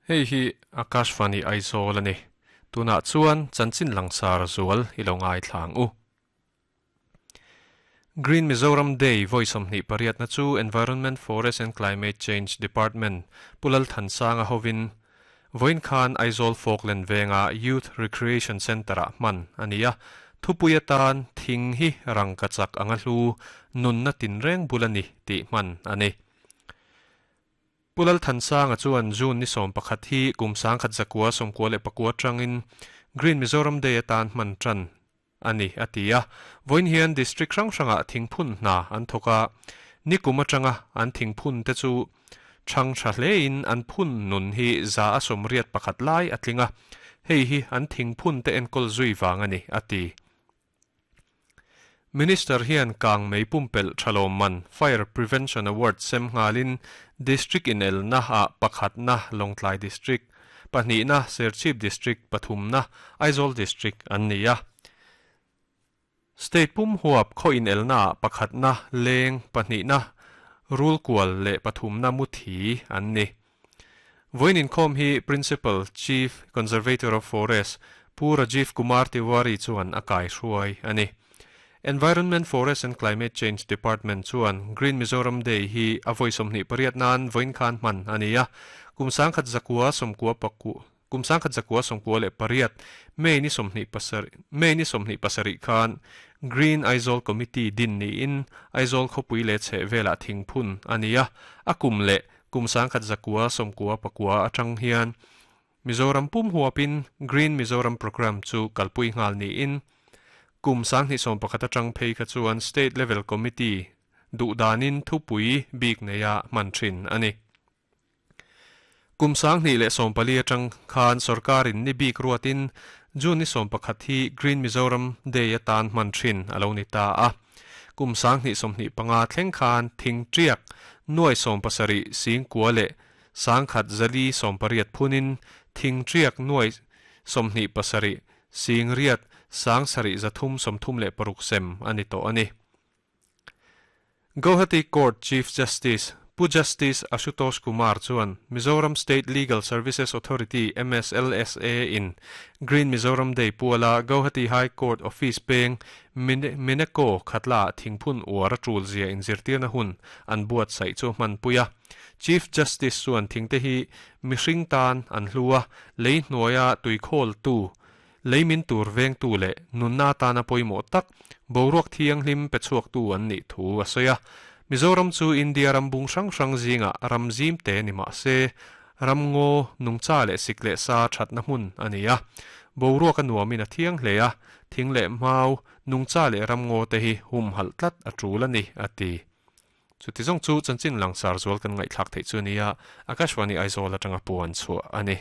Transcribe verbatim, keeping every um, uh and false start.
Hei hi Akashvani Aizawl ani. Tunah chuan chanchin langsar zual i lo ngai thlang u. Green Mizoram Day vawi sawmhnih pariatna chu Environment, Forest and Climate Change Department Pu Lalthansanga hovin vawiin khan Aizawl Falkland venga Youth Recreation Centre-ah hman a ni a. Thupui atan thing hi rangka chak anga hlu nunna tinreng bul a ni tih hman a ni. Pu Lalthansanga chuan June ni sawm pakhat hi kum sangkhat zakua sawmkua leh pakua tangin Green Mizoram Day atan hman tan a ni a ti a. Vawiin hian district hrang hrangah thingphun hna an thawk a, nikum atanga an thingphun te chu thang tha hlein an phun nun hi za a sawmriat pakhat lai a tling a, hei hi an thingphun te enkawl zui vang a ni a ti. Minister hian kang mei pumpelh thalawm man Fire Prevention Award sem nghalin District in elna ah pakhatna Lawngtlai District, pahnihna Serchhip District, pathumna Aizawl District an ni a. State pum huap khaw in elna ah pakhatna Leng, pahnihna Rulkual leh pathumna Muthi an ni. Vawiin inkhawm hi Principal Chief Conservator of Forest Pu Rajiv Kumar Tiwari chuan a kai hruai a ni. Environment, Forest and Climate Change Department chuan Green Mizoram Day hi a vawi sawmhnih pariat nan vawiin khan hman a ni a. Kum sangkhat zakua sawmkua paku kum sangkhat zakua sawmkua leh pariat May ni sawmhnih pasarih May ni sawmhnih pasarih khan Green Aizawl Committee din niin Aizawl khawpui leh chheh velah thingphun a ni a. A kum leh kum sangkhat zakua sawmkua pakua atang hian Mizoram pum huapin Green Mizoram Programme chu kalpui nghal niin kum sanghnih sawm pakhat atang phei kha chuan State Level Committee duhdanin thupui bik neia hman thin a ni. Kum sanghnih leh sawm pali atang khan sorkarin ni bik ruatin June ni sawm pakhat hi Green Mizoram Day atan hman thin a lo ni ta a. Kum sanghnih sawmhnih panga thleng khan thing tiak nuai sawm pasarih singkua leh sangkhat zali sawm pariat phunin thing tiak nuai sawmhnih pasarih singriat sang sarih zathum sawmthum leh paruk sem a ni tawh a ni. Guwahati Court Chief Justice Pu Justice Ashutosh Kumar chuan Mizoram State Legal Services Authority M S L S A in Green Mizoram Day puala Guwahati High Court Office peng Mineko Khatla thingphun uar a tul zia inzirtirna hun an buatsaih chu hman pui a. Chief Justice chuan thingte hi mihring tan an hlua lei hnuaia tuikhawl tu leimin tur veng tu leh nunna tana pawimawh tak boruak thianghlim pe chhuak tu an nih thu a sawi a. Mizoram chu India ram bung hrang hrang zinga ram zim te ni mah se ramngaw nungcha leh sik leh sa thatna hmun a ni a. Boruak a nuamin a thiang hle a, thing leh mau nungcha leh ramngaw te hi hum halh tlat a tul a ni a ti. Chuti zawng chu chanchin langsar zual kan ngaihthlak theih chu nia Akashvani Aizawl atanga puan chhuah a ni.